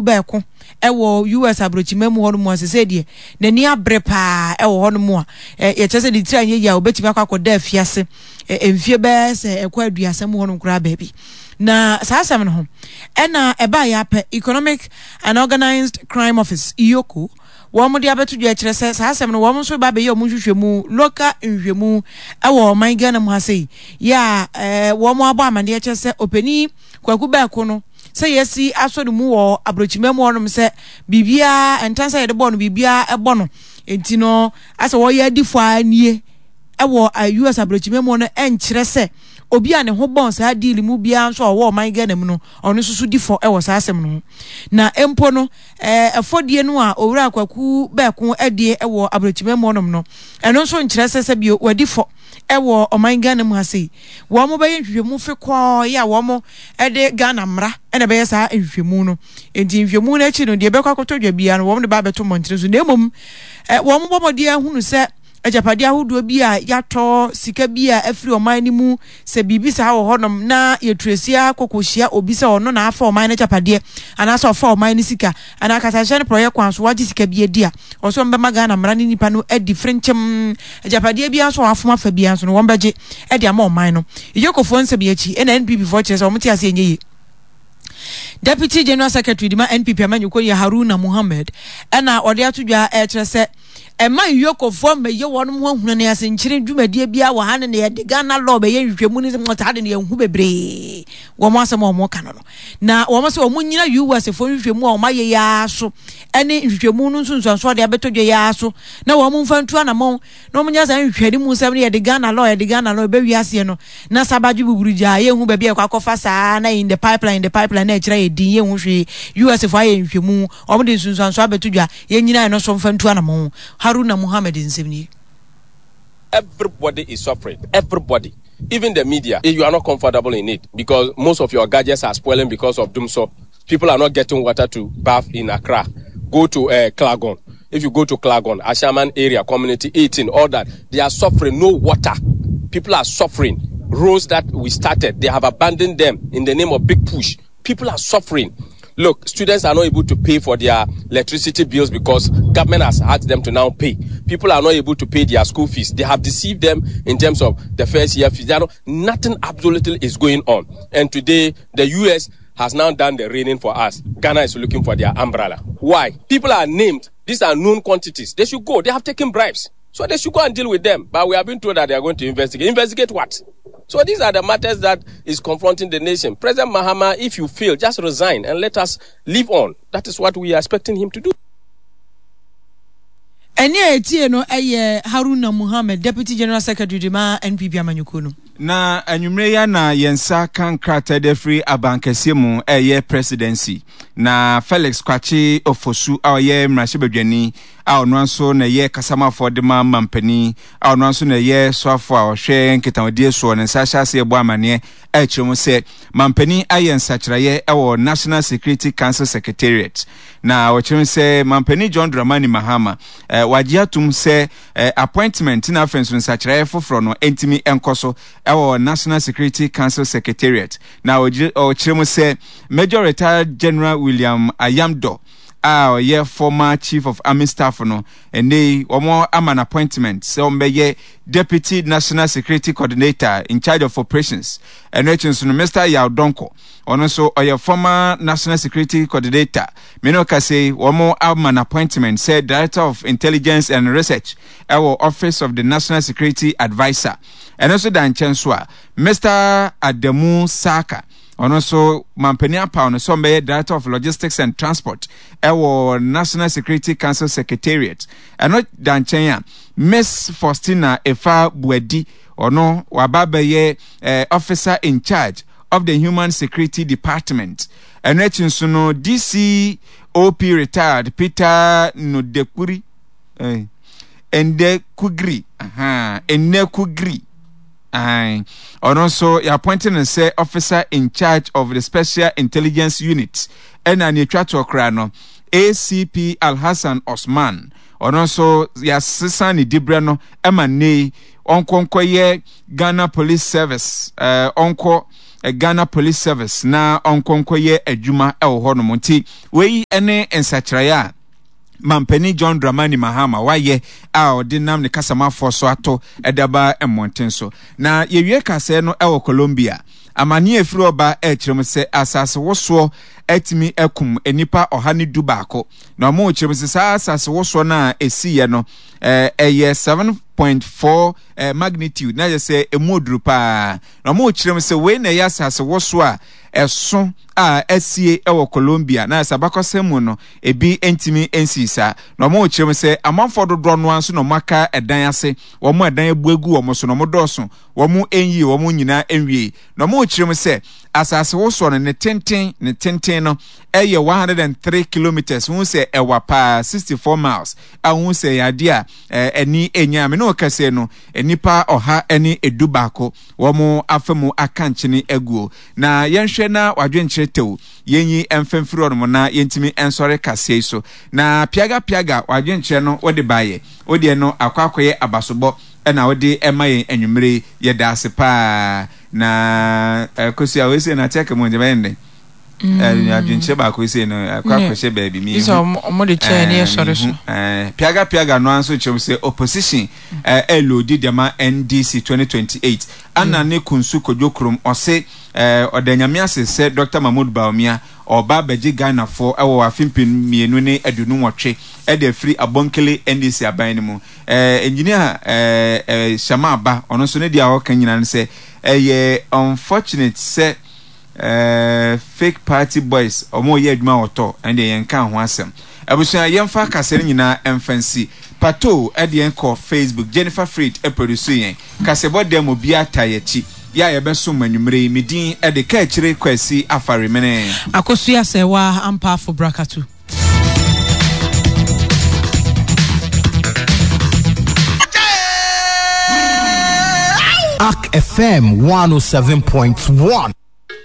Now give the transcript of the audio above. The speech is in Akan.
Bɛɛko wɔ US aburokyima mu hɔnom a sesei deɛ n'ani abere paa wɔ hɔnom a yɛkyerɛ sɛ ne tiri anyɛ yie a obetumi akɔ akɔda afiase mfie bɛyɛ sɛ ɛkɔ aduasa mu hɔnom koraa baabi. Na saa asɛm no ho ɛna ɛbaa yɛ apɛ Economic and Organized Crime Office, EOCO, wɔn de abɛto dwa kyerɛ sɛ saa asɛm no wɔn nso ba abɛyɛ wɔn nhwehwɛmu, local nhwehwɛmu wɔ ɔman Ghana mu ha sei yɛ a wɔn abɔ amaneɛ kyerɛ sɛ ɔpanin Kwaku Bɛɛko no sɛ yɛasi asɔ ne mu wɔ aburokyima mu hɔnom sɛ biribiara ntan sɛ yɛde bɔɔ no biribiara ɛbɔ no nti no asɛ wɔyɛ adi fɔ ara nie ɛwɔ US aburokyima mu no ɛnkyerɛ sɛ obi a ne ho bɔn saa deal mu biara nso a ɔwɔ ɔman Ghana mu no ɔno nso so di fɔ ɛwɔ saa asɛm no ho na mpo no ɛfɔdie no a owura Kwaku Bɛɛko adie ɛwɔ aburokyima mu hɔnom no ɛno nso nkyerɛ sɛ sɛ bio wadi fɔ ɛwɔ ɔman Ghana mu ha sei, wɔn bɛyɛ nhwehwɛmu fekɔɔ yi a wɔn de Ghana mmara na ɛbɛyɛ saa nhwehwɛmu no. Nti nhwehwɛmu no akyi no, deɛ ɛbɛkɔ akɔtɔ dwa biara no, wɔn de ba abɛto mmɔntene so. Na mmom, wɔn bɔ mmɔden ahunu sɛ agyapadeɛ ahodoɔ bi a yɛatɔ, sika bi a afiri ɔman no mu, sɛ biribi saa wɔ hɔnom na yɛtuasia kɔkɔhyia obi sɛ ɔno na afa ɔman no agyapadeɛ anaasɛ ɔfa ɔman no sika anaa kasahyɛ no prɔyɛ kwan so wagye sika bi adi a, ɔsɛ wɔn bɛma Ghana mmara ne nipa no adi frenkyem. Agyapadeɛ biara nso a wɔafom afa biara nso no, wɔbɛgye de ama ɔman no. Iyokofoɔ nsɛm yi akyi na NPP foɔ kyerɛ sɛ wɔn te aseɛ nyɛ yie. Deputy General Secretary de ma NPP amanyɔkuo no yɛ Haruna Mohammed ɛna ɔde ato dwa ɛkyerɛ sɛ ɛma Iyokofoɔ mmɛyɛ wɔn ho ahuna ne asenkyere dwumadie biara wɔ ha ne na yɛde Ghana law bɛyɛ nhwehwɛmu ne saa de no yɛnhu bebree wɔn asɛm a wɔn ka no no. Na wɔn sɛ wɔn nyina US foɔ nhwehwɛmu a wɔn ayɛ yi ara so ɛne nhwehwɛmu no nsunsuansoɔ de abɛtɔ dwa yi ara so na wɔn mfa ntu anamɔn na wɔn nyɛ saa nhwehwɛne mu nsɛm no yɛde Ghana law yɛde Ghana law ɛbɛ wiaseɛ no na sabadwe buburu gyaa yɛnhu baabi a yɛkɔ akɔfa saa na in the pipeline in the pipeline na ɛkyerɛ yɛ din yɛnhu hwee US foɔ ayɛ nhwehwɛmu wɔn de nsunsuansoɔ abɛto dwa yɛn nyina ɛno so mfa ntu anamɔn Haruna Muhammed nsɛm nie. Everybody is suffering. Everybody. Even the media. You are not comfortable in it because most of your gadgets are spoiling because of Dumsor. People are not getting water to bath in Accra. Go to uh, Klagon. If you go to Klagon, Ashaman area, community 18, all that, they are suffering. No water. People are suffering. Roads that we started, they have abandoned them in the name of big push. People are suffering. Look, students are not able to pay for their electricity bills because government has asked them to now pay. People are not able to pay their school fees. They have deceived them in terms of the first year fees. Not, nothing absolutely is going on. And today, the U.S. has now done the raining for us. Ghana is looking for their umbrella. Why? People are named. These are known quantities. They should go. They have taken bribes. So they should go and deal with them. But we have been told that they are going to investigate. Investigate what? So these are the matters that is confronting the nation. President Mahama, if you fail, just resign and let us live on. That is what we are expecting him to do. Ɛnne a yɛtiee no yɛ Haruna Mohammed, Deputy General Secretary de ma NPP amanyɔkuo no. Na anwummerɛ yi ara na yɛn nsa ka nkrataa de afiri abankɛseɛ mu ɛyɛ presidency. Na Felix Kwakye Ofosu a ɔyɛ mmarahyɛbadwani a ɔno nso na ɛyɛ kasamafoɔ de ma mampanin a ɔno nso na ɛyɛ soafoɔ a ɔhwɛ nkitahodie soɔ ne nsa ahyɛ aseɛ bɔ amaneɛ ɛkyerɛ mu sɛ mampanin ayɛ nsakyeraeɛ ɛwɔ National Security Council Secretariat. Na ɔkyerɛ mu sɛ mampanin John Dramani Mahama eh, wagye atom sɛ eh, appointment na afei nso nsakyeraeɛ foforɔ no ntumi nkɔ so ɛwɔ National Security Council Secretariat. Na ɔkyerɛ mu sɛ Major Retired General William Ayamdor a ɔyɛ former Chief of Army Staff no, ɛnnɛ yi wɔn ama no appointment sɛ ɔmmɛyɛ Deputy National Security Coordinator in charge of operations. Ɛno akyi nso no, Mister Yaw Donkor, ɔno nso ɔyɛ former National Security Coordinator. Me ne ɔkasa yi, wɔn ama no appointment sɛ Director of Intelligence and Research ɛwɔ Office of the National Security Adviser. Ɛno nso da nkyɛn nso a, Mister Adamu Saka, Ɔno nso mampanin apaw no sɛ ɔmmɛyɛ Director of Logistics and Transport ɛwɔ National Security Council Secretariat. Ɛno da nkyɛn a, Miss Faustina Efa Buadi, ɔno waba abɛyɛ eh, Officer in Charge of the Human Security Department. Ɛno akyi nso no, DCOP retired Peter Nodekuri, eh, Ndekugri, aha, Ndekugri. Ae. Ɔno nso yɛapɔinte no sɛ Officer in Charge of the Special Intelligence Unit. Ɛna nea etwa toɔ koraa no, ACP Alhassan Osman, ɔno nso yɛasesa ne diberɛ no ma nnɛ yi ɔnkɔ nkɔyɛ Ghana Police Service, eh, ɔnkɔ Ghana Police Service na ɔnkɔ nkɔyɛ adwuma wɔ hɔnom. Nti wei ne nsakyeraeɛ a Mampanin John Dramani Mahama wayɛ a ɔde nam ne kasamafoɔ so ato de aba mmɔnten so. Na yɛwie kasɛɛ no wɔ Colombia. Amanneɛ a ɛfiri hɔ ba rekyerɛ mu sɛ asasewosoɔ atumi akum nnipa 111. Na wɔrekyerɛ mu sɛ saa asasewosoɔ no a ɛsiiɛ no, ɛyɛ 7.4 magnitude, na yɛ sɛ ɛmu oduru paa. Na wɔrekyerɛ mu sɛ wei na ɛyɛ asasewosoɔ a ɛso a asie wɔ Colombia, na sɛ abakɔsɛm mu no, ebi ntumi nsii saa. Na wɔrekyerɛ mu sɛ amanfoɔ dodoɔ no ara nso na wɔaka ɛdan ase, wɔn a ɛdan abu agu wɔn so no, wɔdɔɔso, wɔn nyii wɔn nyinaa nwiei. Na wɔrekyerɛ mu sɛ asasewosoɔ no, ne tenten, ne tenten no yɛ 103 kilometres, wohu sɛ ɛwa paa, 64 miles, a wohu sɛ ɛyɛ adeɛ a ani nya. Me ne wo kɛseɛ no, nnipa 111 wɔn afa mu aka nkyene aguo. Na yɛnhwɛ na wadwenkyerɛ tɛw, yɛnyi mfa mfiri hɔnom na yɛntumi nsɔre kaseɛ yi so. Na piaga piaga wadwenkyerɛ no wode baeɛ, wodeɛ no akɔ akɔyɛ abasobɔ na wode ɛma yɛn anwummere yi, yɛda ase paa. Na Kosua wei sei no ate aka mu nti bɛyɛ ndɛn? Adwenkyerɛ baako yi sei no akɔ akɔhyɛ baabi mi hu. Ɔmo de kyɛɛ ne yɛsɔre so. Piaga piaga no ara nso kyerɛ mu sɛ opposition ɛloadi de ama NDC 2028. Ana ne Kunsu Kojo Krom ɔse ɔda Nyame ase sɛ Dr. Mahmood Bawumia ɔreba abɛgye Ghanafoɔ wɔ afe 2028 de afiri Abonkele NDC aban no mu. Engineer Shama Aba ɔno nso ne deɛ a ɔka nyinaa ne sɛ ɛyɛ unfortunate sɛ fake party boys ɔmo yɛ adwuma wɔ tɔ ɛne deɛ yɛn ka ho asɛm. Abusua yɛmfa kaseɛ no nyinaa ɛmfa nsi. Pato ɛde yɛn kɔ Facebook, Jennifer Fried ɛproduce yɛn. Kaseɛbɔ dɛm obiara taa yɛakyi. Yɛ a yɛbɛsom mo anwummere yi, me din ɛde Kaakyire Kwasi Afaremene. Akosua Serwaa Ampaafo Brakatu. Ark FM 107.1.